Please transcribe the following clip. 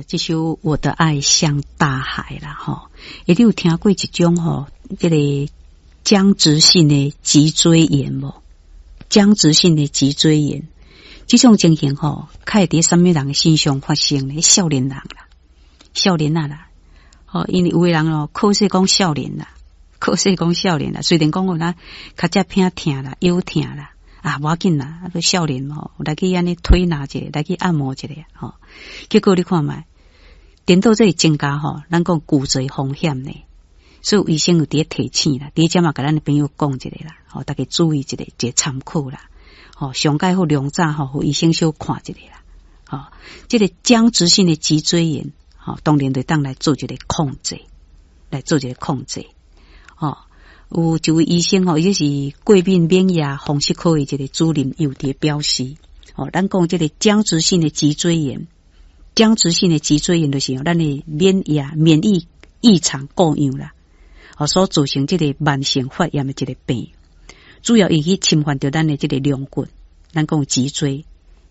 這首《我的愛像大海》啦，吼，欸，你有聽過一種吼，這個僵直性的脊椎炎無？僵直性的脊椎炎，這種情形吼，較會佇啥物人身上發生呢？少年人啦，少年仔啦，吼，因為有的人哦，靠勢講少年啦，靠勢講少年啦，雖然講有啦，跤脊偏疼啦，腰疼啦。啊，無要緊啦，啊，閣少年吼，來去按呢推拿一下，來去按摩一下吼。結果你看覓，顛倒這會增加吼，咱講骨折風險呢。所以醫生有佇咧提醒啦，佇遮嘛共咱的朋友講一下啦，吼，大家注意一下，一個參考啦。吼，上蓋好量早吼，予醫生小看一下啦。吼，這個僵直性的脊椎炎，吼，當然就當來做一個控制，來做一個控制，吼。有一位醫生吼，伊是過敏免疫風濕科的一個主任，有佇表示，吼，咱講這個僵直性的脊椎炎，僵直性的脊椎炎就是咱的免疫異常過樣啦，吼，所造成這個慢性發炎的一個病，主要伊去侵犯著咱的這個龍骨，咱講脊椎，